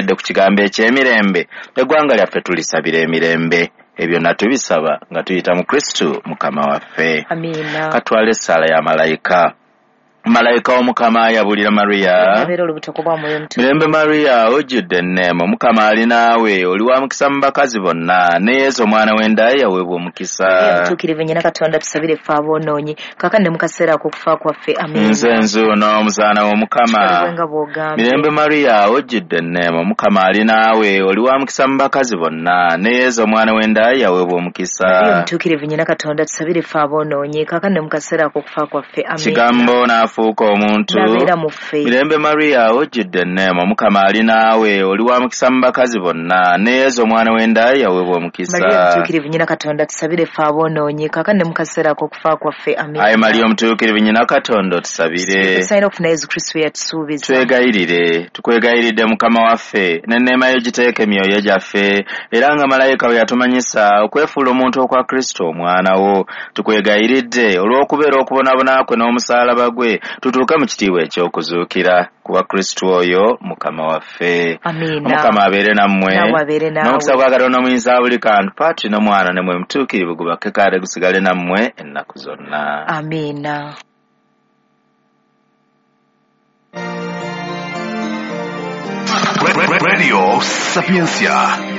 Twogedde ku kigambo eky'emirembe, eggwanga lyaffe tulisabira emirembe. Ebyo natubisaba nga tuyita mu Kristo Mukama waffe. Amiina. Katwale essaala ya malayika. Malayika w'Omukama yabulira Mariya. Mirembe Mariya, ojjudde enneema, Omukama ali naawe, oli wa mukisa mu bakazi bonna, ne Yesu omwana w'enda ye yaweebwa omukisa. Omutuukirivu nnyina Katonda, tusabire ffe aboonoonyi, kaakano ne mu kaseera ak'okufa kwaffe. Amiina. Nze nzuuno omuzaana w'Omukama. Mirembe Mariya, ojjudde enneema, Omukama ali naawe, oli wa mukisa mu bakazi bonna, ne Yesu omwana w'enda ye yaweebwa omukisa. Omutuukirivu nnyina Katonda, tusabire ffe aboonoonyi, kaakano ne mu kaseera ak'okufa kwaffe. Amiina. Kigambo n'afuuka omuntu. Mirembe Mariya, ojjudde enneema, Omukama ali naawe, oli wa mukisa mu bakazi bonna, ne Yesu omwana w'enda ye yaweebwa omukisa. Mariya omutuukirivu nnyina Katonda, tusabire ffe aboonoonyi, kaakano ne mu kaseera ak'okufa kwaffe. Amiina. Ayi Mariya omutuukirivu nnyina Katonda, otusabire. Tusaanira okufuna Yesu Kristo yatusuubiza. Twegayirire, tukwegayiridde Mukama waffe, n'enneema yo giteeke emyoyo gyaffe, era nga malayika bwe yatumanyisa okwefuula omuntu okwa Kristo omwana wo, tukwegayiridde olw'okubeera okubonaabona kwe n'omusaalaba gwe, tutuuke mu kitiibwa eky'okuzuukira kuba Kristo oyo Mukama waffe. Amiina. Omukama abeere nammwe, n'omukisa gwa Katonda omuyinza buli kantu, Patri n'Omwana ne Mwoyo Mutuukirivu gubake kale gusigale nammwe ennaku zonna. Amiina. Radio Sapientia.